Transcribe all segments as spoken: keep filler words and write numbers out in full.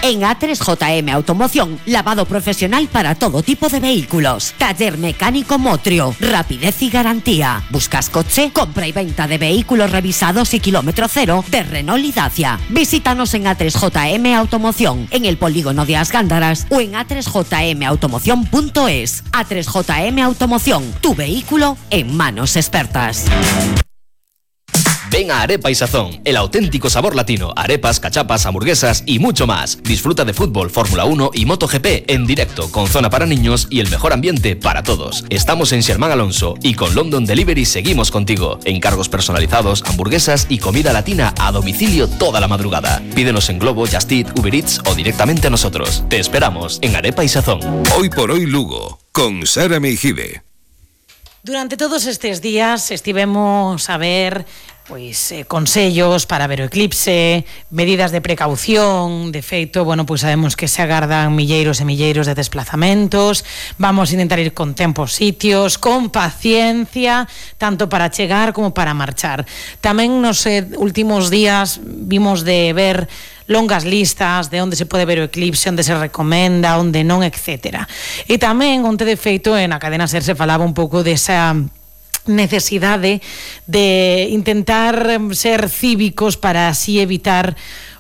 En A tres J M Automoción, lavado profesional para todo tipo de vehículos. Taller mecánico Motrio, rapidez y garantía. ¿Buscas coche? Compra y venta de vehículos revisados y kilómetro cero de Renault y Dacia. Visítanos en A tres J M Automoción, en el polígono de As Gándaras o en a tres j m automoción punto es. A tres J M Automoción, tu vehículo en manos expertas. Ven a Arepa y Sazón, el auténtico sabor latino. Arepas, cachapas, hamburguesas y mucho más. Disfruta de fútbol, Fórmula uno y MotoGP en directo, con zona para niños y el mejor ambiente para todos. Estamos en Xermán Alonso y con London Delivery seguimos contigo. Encargos personalizados, hamburguesas y comida latina a domicilio toda la madrugada. Pídenos en Globo, Just Eat, Uber Eats o directamente a nosotros. Te esperamos en Arepa y Sazón. Hoy por hoy Lugo, con Sara Meijide. Durante todos estes días estivemos a ver pois eh, consellos para ver o eclipse, medidas de precaución. De feito, bueno, pois sabemos que se agardan milleiros e milleiros de desplazamentos. Vamos a intentar ir con tempo aos sitios, con paciencia, tanto para chegar como para marchar. Tamén nos eh, últimos días vimos de ver longas listas de onde se pode ver o eclipse, onde se recomenda, onde non, etcétera. E tamén, onde de feito, na cadena SER se falaba un pouco desa necesidade de intentar ser cívicos para así evitar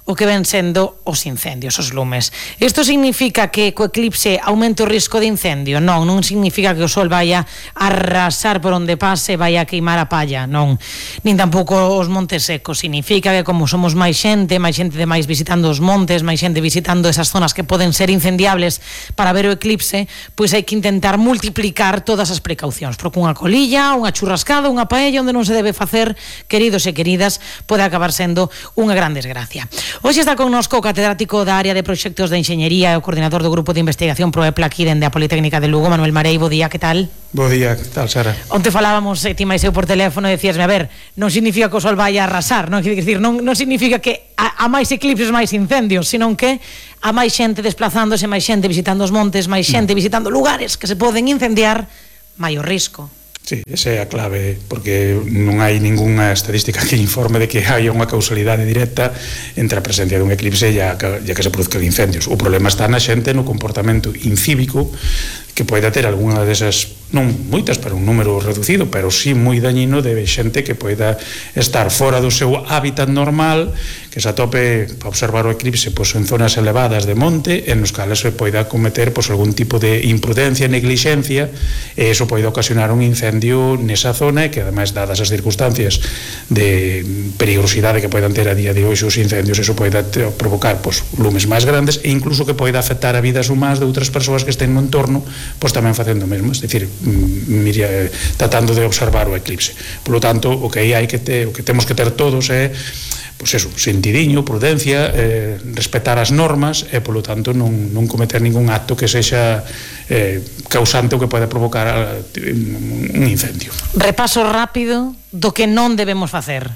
o que ven sendo os incendios, os lumes. Isto significa que co eclipse aumenta o risco de incendio? Non, non significa que o sol vaya a arrasar por onde pase, vaya a queimar a palla, non. Nin tampouco os montes secos. Significa que como somos máis xente, máis xente de máis visitando os montes, máis xente visitando esas zonas que poden ser incendiables para ver o eclipse, pois hai que intentar multiplicar todas as precaucións, porque unha colilla, unha churrascada, unha paella onde non se debe facer, queridos e queridas, pode acabar sendo unha gran desgracia. Hoxe está connosco o catedrático da área de proxectos de enxeñería e o coordinador do grupo de investigación Proepla aquí dende a Politécnica de Lugo, Manuel Marei. Bo día, que tal? Bo día, que tal, Sara? Onte falábamos, eh, ti máis eu por teléfono, e decíasme, a ver, non significa que o sol vai a arrasar, non? Quer dicir, non, non significa que a, a máis eclipses máis incendios, senón que a máis xente desplazándose, máis xente visitando os montes, máis xente visitando lugares que se poden incendiar, maior risco. Sí, esa é a clave, porque non hai ningunha estadística que informe de que hai unha causalidade directa entre a presencia dun eclipse e a, e a que se produzcan incendios. O problema está na xente, no comportamento incívico que poida ter algunha desas, non moitas, pero un número reducido, pero sí moi dañino, de xente que poida estar fora do seu hábitat normal, que se atope para observar o eclipse pois, en zonas elevadas de monte, en os cales se poida cometer pois, algún tipo de imprudencia, neglixencia, e iso poida ocasionar un incendio nesa zona, e que ademais, dadas as circunstancias de peligrosidade que poidan ter a día de hoxe os incendios, iso poida provocar pois, lumes máis grandes, e incluso que poida afectar a vidas humanas de outras persoas que estén no entorno, pois tamén facendo o mesmo, é dicir, miria, tratando de observar o eclipse. Por lo tanto, o que aí hai que ter, o que temos que ter todos é pois eso, sentidiño, prudencia, eh, respetar as normas e, polo tanto, non, non cometer ningún acto que sexa eh, causante ou que pode provocar un incendio. Repaso rápido do que non debemos facer.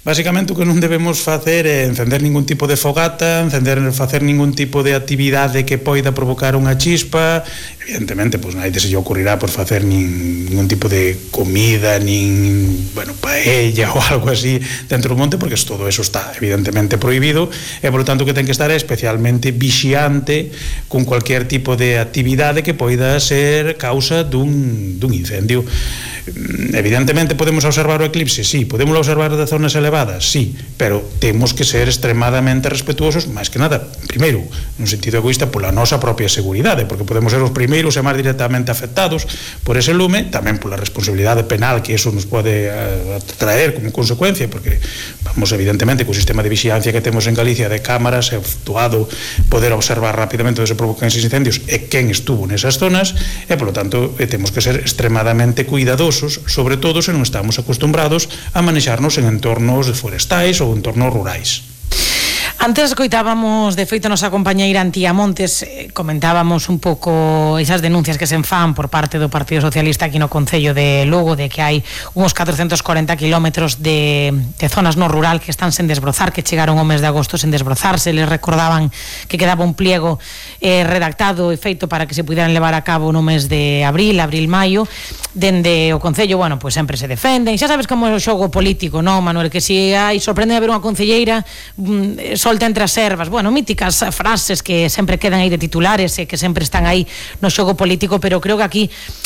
Básicamente o que non debemos facer é encender ningún tipo de fogata, encender, facer ningún tipo de actividade que poida provocar unha chispa. Evidentemente, pois naide se lle ocurrirá por facer nin, ningún tipo de comida, nin, bueno, paella ou algo así dentro do monte, porque todo eso está evidentemente prohibido, e por lo tanto que ten que estar é especialmente vixiante con cualquier tipo de actividade que poida ser causa dun, dun incendio. Evidentemente podemos observar o eclipse, sí, podemos observar de zonas elevadas, sí, pero temos que ser extremadamente respetuosos, máis que nada, primeiro, nun sentido egoísta, pola nosa propia seguridade, porque podemos ser os primeiros e máis directamente afectados por ese lume, tamén pola responsabilidade penal que eso nos pode traer como consecuencia, porque vamos, evidentemente, co sistema de vixiancia que temos en Galicia de cámaras, é actuado poder observar rapidamente onde se provocan esos incendios e quen estuvo nesas zonas, e, polo tanto, temos que ser extremadamente cuidadosos, sobre todo se non estamos acostumbrados a manexarnos en entornos forestais ou entornos rurais. Antes escoitábamos, de feito, nosa compañeira Antía Montes, eh, comentábamos un pouco esas denuncias que se enfan por parte do Partido Socialista aquí no Concello de Lugo, de que hai uns catrocentos corenta kilómetros de, de zonas no rural que están sen desbrozar, que chegaron o mes de agosto sen desbrozarse. Les recordaban que quedaba un pliego eh, redactado e feito para que se puderan levar a cabo no mes de abril, abril-maio. Dende o Concello, bueno, pois sempre se defenden. Xa sabes como é o xogo político, non, Manuel? Que se hai sorprende haber unha concelleira mm, sol volta entre as ervas, bueno, míticas frases que sempre quedan aí de titulares e que sempre están aí no xogo político, pero creo que aquí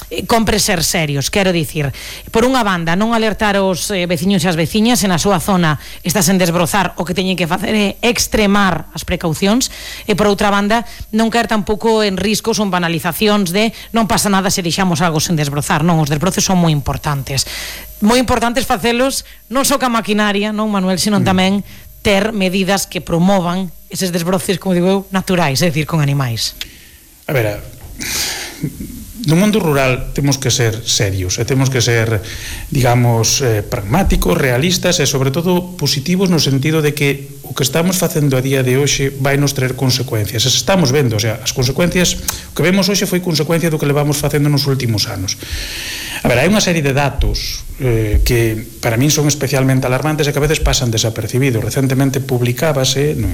eh, compre ser serios, quero dicir, por unha banda, non alertar os eh, veciños e as veciñas en a súa zona está sen desbrozar, o que teñen que facer é extremar as precaucións, e por outra banda, non caer tampouco en riscos ou en banalizacións de non pasa nada se deixamos algo sen desbrozar, non, os desbrozos son moi importantes. Moi importantes facelos non só ca maquinaria, non, Manuel, sino tamén ter medidas que promovan eses desbroces, como digo eu, naturais, é dicir, con animais. A ver, no mundo rural temos que ser serios e temos que ser, digamos, eh, pragmáticos, realistas e, sobre todo, positivos no sentido de que o que estamos facendo a día de hoxe vai nos traer consecuencias. As estamos vendo, o sea, as consecuencias, o que vemos hoxe foi consecuencia do que levamos facendo nos últimos anos. A ver, hai unha serie de datos eh, que para min son especialmente alarmantes e que a veces pasan desapercibidos. Recentemente publicábase no,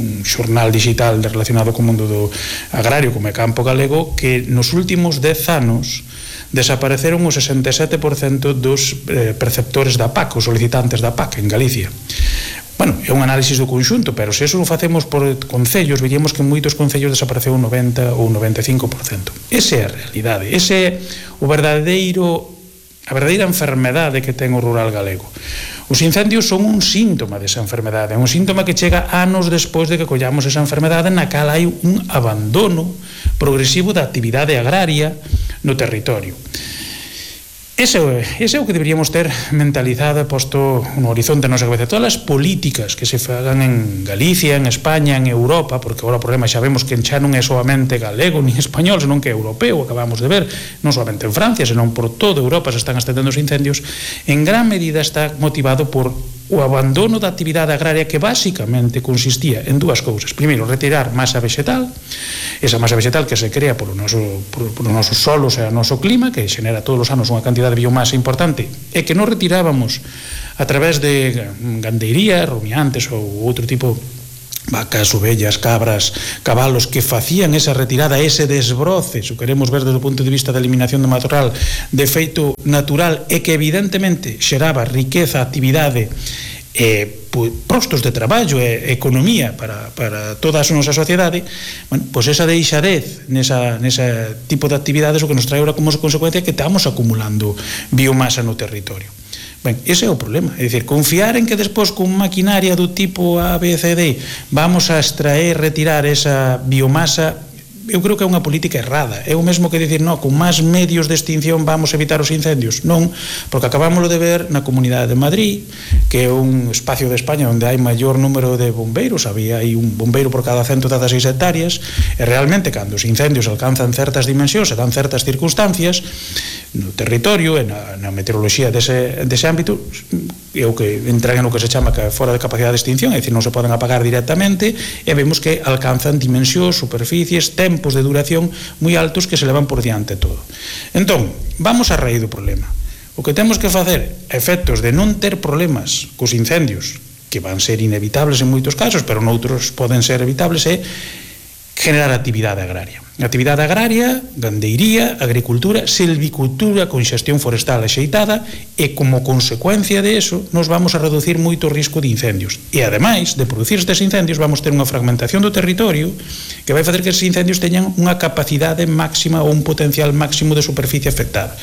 un xornal digital relacionado co mundo do agrario como é Campo Galego que nos últimos dez anos desapareceron o sesenta e sete por cento dos eh, perceptores da P A C, os solicitantes da P A C en Galicia. Bueno, é un análisis do conxunto, pero se eso o facemos por concellos, veríamos que en moitos concellos desapareceu un noventa ou noventa e cinco por cento. Esa é a realidade, ese é o verdadeiro, a verdadeira enfermedade que ten o rural galego. Os incendios son un síntoma desa enfermedade, é un síntoma que chega anos despois de que collamos esa enfermedade na cal hai un abandono progresivo da actividade agraria no territorio. Ese, ese é o que deberíamos ter mentalizado e posto no horizonte da nosa cabeza. Todas as políticas que se fagan en Galicia, en España, en Europa, porque agora o problema xa vemos que xa non é solamente galego ni español, senón que é europeo, acabamos de ver, non solamente en Francia, senón por toda Europa se están estendendo os incendios, en gran medida está motivado por o abandono da actividade agraria que basicamente consistía en dúas cousas. Primeiro, retirar masa vegetal, esa masa vegetal que se crea polo noso, por, por nosos solos e o noso clima, que xenera todos os anos unha cantidad de biomasa importante, e que non retirábamos a través de gandeiría, rumiantes ou outro tipo, vacas, ovellas, cabras, cabalos, que facían esa retirada, ese desbroce, se queremos ver desde o punto de vista da eliminación do matorral, de feito natural, e que evidentemente xeraba riqueza, actividade, eh, postos de traballo e economía para, para toda a nosa sociedade. Bueno, pois esa deixadez nesa, nesa tipo de actividades o que nos trae ahora como consecuencia que estamos acumulando biomasa no territorio. Ben, ese é o problema, é dicir, confiar en que despois con maquinaria do tipo A, B, C, D vamos a extraer, retirar esa biomasa, eu creo que é unha política errada. É o mesmo que dicir, non, con máis medios de extinción vamos a evitar os incendios. Non, porque acabámoslo de ver na Comunidade de Madrid, que é un espacio de España onde hai maior número de bombeiros, había aí un bombeiro por cada ciento dezasseis hectáreas, e realmente cando os incendios alcanzan certas dimensións e dan certas circunstancias no territorio e na, na meteoroloxía dese, dese ámbito, é o que entran no que se chama que fora de capacidade de extinción, é dicir, non se poden apagar directamente, e vemos que alcanzan dimensións, superficies, tempos de duración moi altos que se levan por diante todo. Entón, vamos a raíz do problema. O que temos que facer a efectos de non ter problemas cos incendios, que van ser inevitables en moitos casos, pero noutros poden ser evitables, é generar actividade agraria. Actividade agraria, gandeiría, agricultura, silvicultura con xestión forestal axeitada, e como consecuencia de eso nos vamos a reducir moito o risco de incendios. E ademais de producir estes incendios vamos ter unha fragmentación do territorio que vai facer que estes incendios teñan unha capacidade máxima ou un potencial máximo de superficie afectada.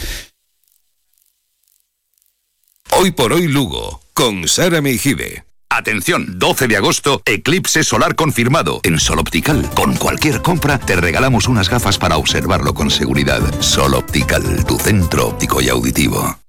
Hoy por hoy Lugo, con Sara Meijide. Atención, doce de agosto, eclipse solar confirmado. En Sol Optical, con cualquier compra, te regalamos unas gafas para observarlo con seguridad. Sol Optical, tu centro óptico y auditivo.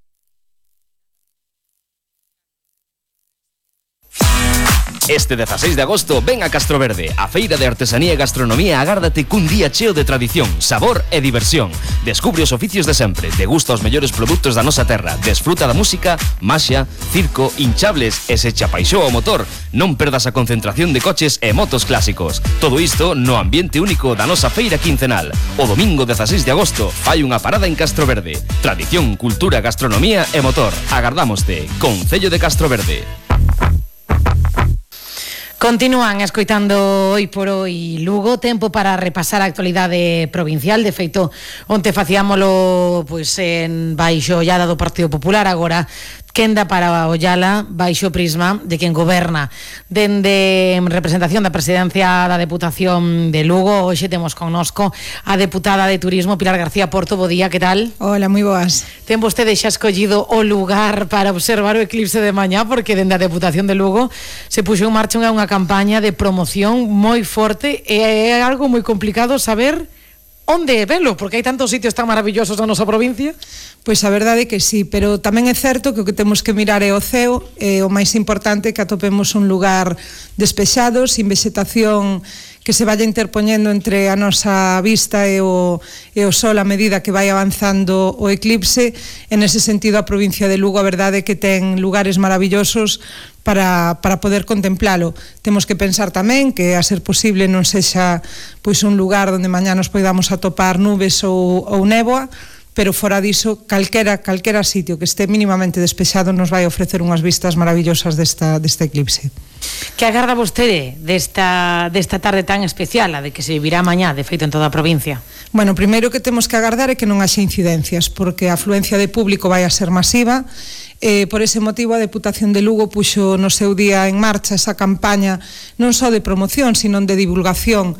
Este dezasseis de agosto ven a Castroverde, a feira de artesanía e gastronomía agárdate cun día cheo de tradición, sabor e diversión. Descubre os oficios de sempre, degusta os mellores produtos da nosa terra, desfruta da música, maxia, circo, hinchables e se che apaixoa o motor, non perdas a concentración de coches e motos clásicos. Todo isto no ambiente único da nosa feira quincenal. O domingo dezasseis de agosto fai unha parada en Castroverde. Tradición, cultura, gastronomía e motor. Agardámoste. Concello de Castroverde. Continúan escoitando Hoy por Hoy Lugo, tempo para repasar a actualidade provincial. De feito, onte facíamolo pois en baixo ollada do Partido Popular, agora quenda para ollala baixo prisma de quen goberna. Dende representación da presidencia da Deputación de Lugo, hoxe temos connosco a deputada de Turismo Pilar García Porto. Bo día, que tal? Hola, moi boas. Ten vostede xa escollido o lugar para observar o eclipse de mañá, porque dende a Deputación de Lugo se puxo en marcha unha campaña de promoción moi forte e é algo moi complicado saber onde velo, porque hai tantos sitios tan maravillosos na nosa provincia. Pois a verdade é que sí, pero tamén é certo que o que temos que mirar é o ceo, e o máis importante é que atopemos un lugar despexado, sin vegetación que se vaya interpoñendo entre a nosa vista e o, e o sol a medida que vai avanzando o eclipse. En ese sentido, a provincia de Lugo, a verdade é que ten lugares maravillosos para, para poder contemplalo. Temos que pensar tamén que, a ser posible, non sexa pois un lugar onde mañá nos poidamos atopar nubes ou, ou néboa, pero fora diso, calquera, calquera sitio que este mínimamente despexado nos vai ofrecer unhas vistas maravillosas desta, deste eclipse. Que agarda vostede desta, desta tarde tan especial, a de que se vivirá mañá, de feito, en toda a provincia? Bueno, primeiro que temos que agardar é que non haxe incidencias, porque a afluencia de público vai a ser masiva. Eh, por ese motivo a Deputación de Lugo puxo no seu día en marcha esa campaña non só de promoción, sino de divulgación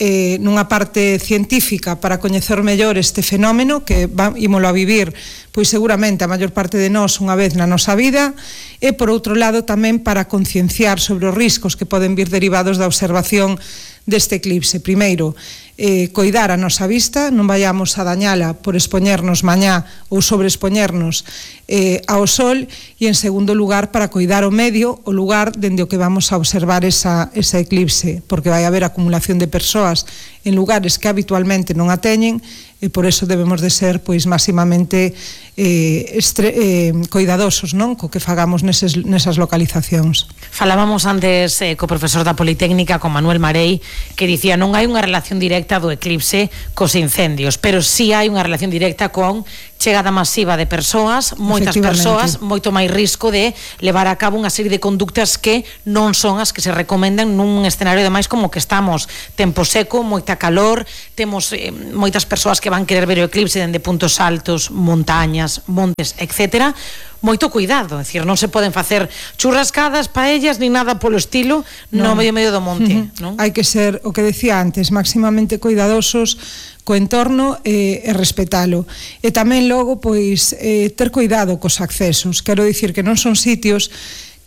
eh, nunha parte científica para coñecer mellor este fenómeno que va, ímolo a vivir pois seguramente a maior parte de nós unha vez na nosa vida, e por outro lado tamén para concienciar sobre os riscos que poden vir derivados da observación deste eclipse. Primeiro, eh, coidar a nosa vista, non vayamos a dañala por expoñernos mañá ou sobreexpoñernos eh, ao sol, e en segundo lugar para coidar o medio, o lugar dende o que vamos a observar esa, esa eclipse, porque vai haber acumulación de persoas en lugares que habitualmente non a teñen, e por eso debemos de ser pois máximamente eh, estre, eh, coidadosos, non, co que fagamos neses, nesas localizacións. Falábamos antes eh, co profesor da Politécnica, con Manuel Marei, que dicía non hai unha relación directa do eclipse cos incendios, pero sí hai unha relación directa con chegada masiva de persoas, moitas persoas, moito máis risco de levar a cabo unha serie de conductas que non son as que se recomendan nun escenario de máis como que estamos, tempo seco, moita calor, temos eh, moitas persoas que van querer ver o eclipse dende puntos altos, montañas, montes, etcétera. Moito cuidado, é dicir, non se poden facer churrascadas, paellas, nin nada polo estilo no, no medio medio do monte, uh-huh. non? Hai que ser, o que decía antes, máximamente cuidadosos co entorno e, e respetalo. E tamén logo, pois, eh, ter cuidado cos accesos. Quero dicir que non son sitios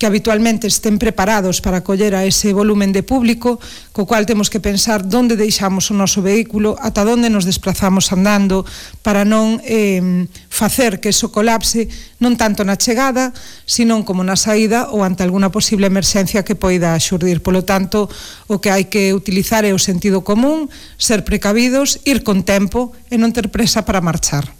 que habitualmente estén preparados para acoller a ese volumen de público, co cual temos que pensar onde deixamos o noso vehículo, ata onde nos desplazamos andando, para non eh, facer que eso colapse non tanto na chegada, sino como na saída ou ante alguna posible emerxencia que poida xurdir. Polo tanto, o que hai que utilizar é o sentido común, ser precavidos, ir con tempo e non ter presa para marchar.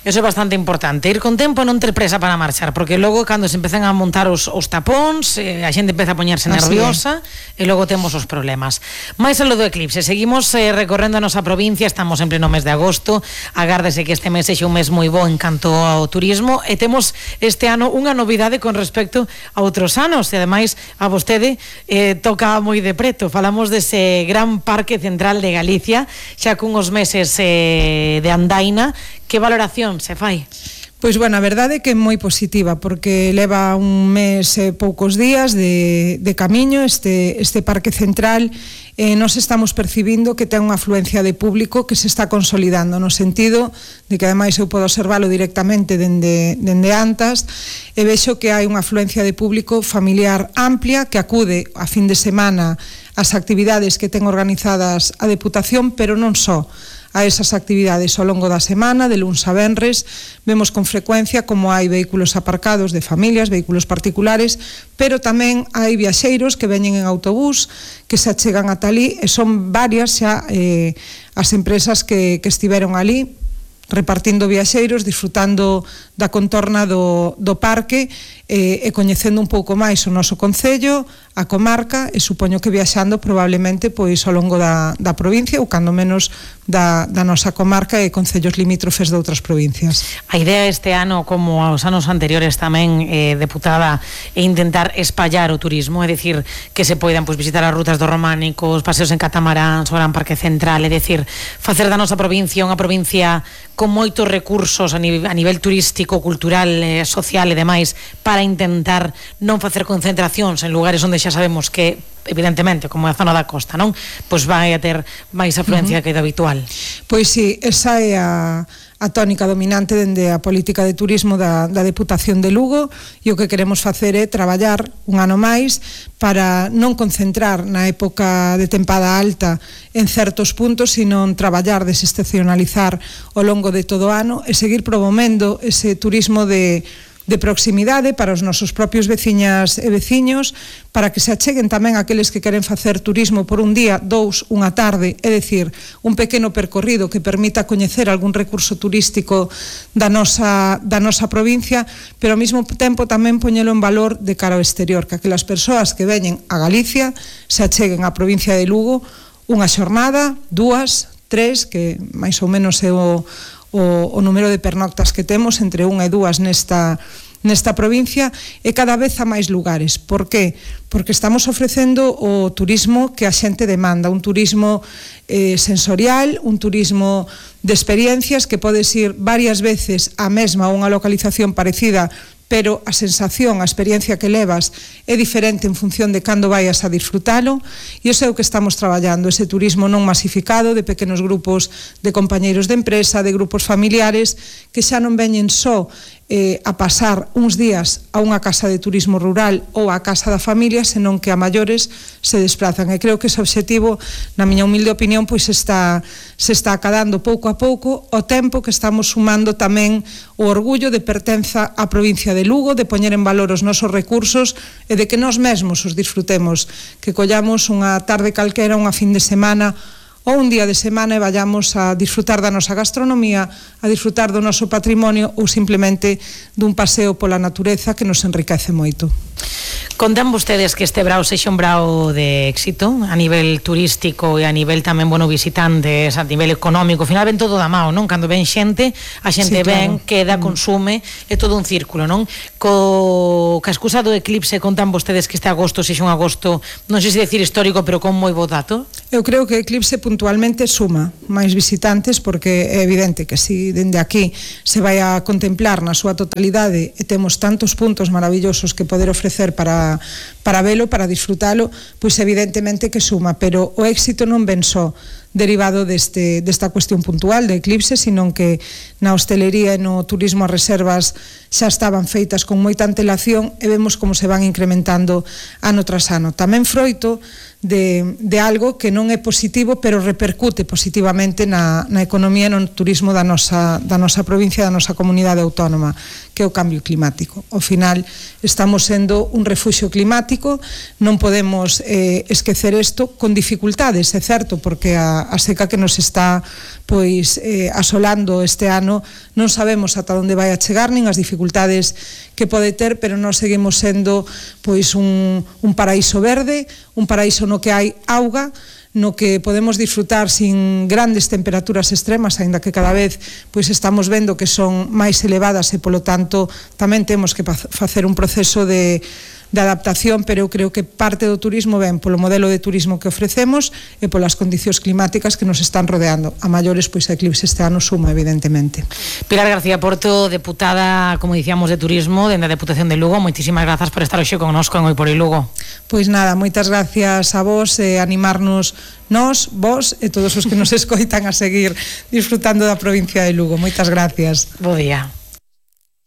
Eso é bastante importante, ir con tempo e non ter presa para marchar, porque logo cando se empezan a montar os, os tapóns, eh, a xente empeza a poñerse nerviosa e logo temos os problemas. Mais algo do eclipse, seguimos eh, recorrendo a nosa provincia, estamos en pleno mes de agosto, agárdese que este mes sexa un mes moi bo en canto ao turismo, e temos este ano unha novidade con respecto a outros anos, e ademais a vostede eh, toca moi de preto. Falamos dese gran parque central de Galicia, xa cunhos meses eh, de andaina. Que valoración se fai? Pois, bueno, a verdade é que é moi positiva, porque leva un mes e poucos días de, de camiño este, este parque central. Eh, nos estamos percibindo que ten unha afluencia de público que se está consolidando, no sentido de que ademais eu podo observalo directamente dende, dende Antas, e vexo que hai unha afluencia de público familiar amplia que acude a fin de semana ás actividades que ten organizadas a Deputación, pero non só a esas actividades ao longo da semana, de luns a venres. Vemos con frecuencia como hai vehículos aparcados de familias, vehículos particulares, pero tamén hai viaxeiros que veñen en autobús, que se achegan ata ali, e son varias xa eh, as empresas que, que estiveron ali repartindo viaxeiros, disfrutando da contorna do, do parque, e, e coñecendo un pouco máis o noso concello, a comarca, e supoño que viaxando probablemente pois ao longo da, da provincia ou cando menos da, da nosa comarca e concellos limítrofes de outras provincias. A idea este ano, como aos anos anteriores tamén, eh, deputada, é intentar espallar o turismo, é dicir, que se poidan pois, visitar as rutas dos románicos, paseos en catamarán, o Gran Parque Central, é dicir, facer da nosa provincia unha provincia con moitos recursos a nivel, a nivel turístico, cultural, eh, social e demais, para intentar non facer concentracións en lugares onde xa sabemos que, evidentemente, como é a zona da costa, non? Pois vai a ter máis afluencia uh-huh. que do habitual. Pois sí, esa é a, a tónica dominante dende a política de turismo da, da Deputación de Lugo, e o que queremos facer é traballar un ano máis para non concentrar na época de tempada alta en certos puntos, sino traballar, desestacionalizar ao longo de todo o ano e seguir promovendo ese turismo de de proximidade para os nosos propios veciñas e veciños, para que se acheguen tamén aqueles que queren facer turismo por un día, dous, unha tarde, é dicir, un pequeno percorrido que permita coñecer algún recurso turístico da nosa, da nosa provincia, pero ao mesmo tempo tamén poñelo en valor de cara ao exterior, que aquelas persoas que veñen a Galicia se acheguen á provincia de Lugo unha xornada, dúas, tres, que máis ou menos é o O, o número de pernoctas que temos entre unha e dúas nesta, nesta provincia, e cada vez a máis lugares. Por qué? Porque estamos ofrecendo o turismo que a xente demanda, un turismo eh, sensorial, un turismo de experiencias que podes ir varias veces a mesma ou unha localización parecida, pero a sensación, a experiencia que levas é diferente en función de cando vayas a disfrutalo, e iso é o que estamos traballando, ese turismo non masificado de pequenos grupos de compañeiros de empresa, de grupos familiares que xa non veñen só eh, a pasar uns días a unha casa de turismo rural ou a casa da familia, senón que a maiores se desplazan, e creo que ese obxectivo, na miña humilde opinión, pois está, se está acadando pouco a pouco o tempo que estamos sumando tamén o orgullo de pertenza á provincia de Lugo, de poñer en valor os nosos recursos e de que nós mesmos os disfrutemos, que collamos unha tarde calquera, unha fin de semana ou un día de semana e vayamos a disfrutar da nosa gastronomía, a disfrutar do noso patrimonio ou simplemente dun paseo pola natureza que nos enriquece moito. Contan vostedes que este brao sexa un brao de éxito a nivel turístico e a nivel tamén, bueno, visitantes, a nivel económico. Ao final ven todo da mao, non? Cando ven xente, a xente sí, claro. ven, queda, mm. consume, é todo un círculo, non? Co ca excusa do eclipse, contan vostedes que este agosto sexa un agosto, non sei se decir histórico, pero con moi bo dato. Eu creo que o eclipse puntualmente suma máis visitantes, porque é evidente que si dende aquí se vai a contemplar na súa totalidade e temos tantos puntos maravillosos que poder ofrecer para, para velo, para disfrutalo, pois evidentemente que suma, pero o éxito non ven só derivado deste, desta cuestión puntual de eclipse, sino que na hostelería e no turismo as reservas xa estaban feitas con moita antelación e vemos como se van incrementando ano tras ano. Tamén froito de, de algo que non é positivo, pero repercute positivamente na, na economía e no turismo da nosa, da nosa provincia, da nosa comunidade autónoma, que é o cambio climático. Ao final estamos sendo un refuxio climático, non podemos eh, esquecer isto, con dificultades, é certo, porque a, a seca que nos está pois eh, asolando este ano non sabemos ata onde vai a chegar, nin as dificultades que pode ter, pero nós seguimos sendo pois un, un paraíso verde, un paraíso no que hai auga, no que podemos disfrutar sin grandes temperaturas extremas, aínda que cada vez pois estamos vendo que son máis elevadas e polo tanto tamén temos que facer un proceso de de adaptación, pero eu creo que parte do turismo ven polo modelo de turismo que ofrecemos e polas condicións climáticas que nos están rodeando. A maiores, pois a eclipse este ano suma, evidentemente. Pilar García Porto, deputada, como dicíamos, de Turismo dende a Deputación de Lugo, moitísimas grazas por estar hoxe connosco en Hoy por Hoy Lugo. Pois nada, moitas gracias a vos e animarnos nós, vos e todos os que nos escoitan a seguir disfrutando da provincia de Lugo. Moitas gracias. Bo día.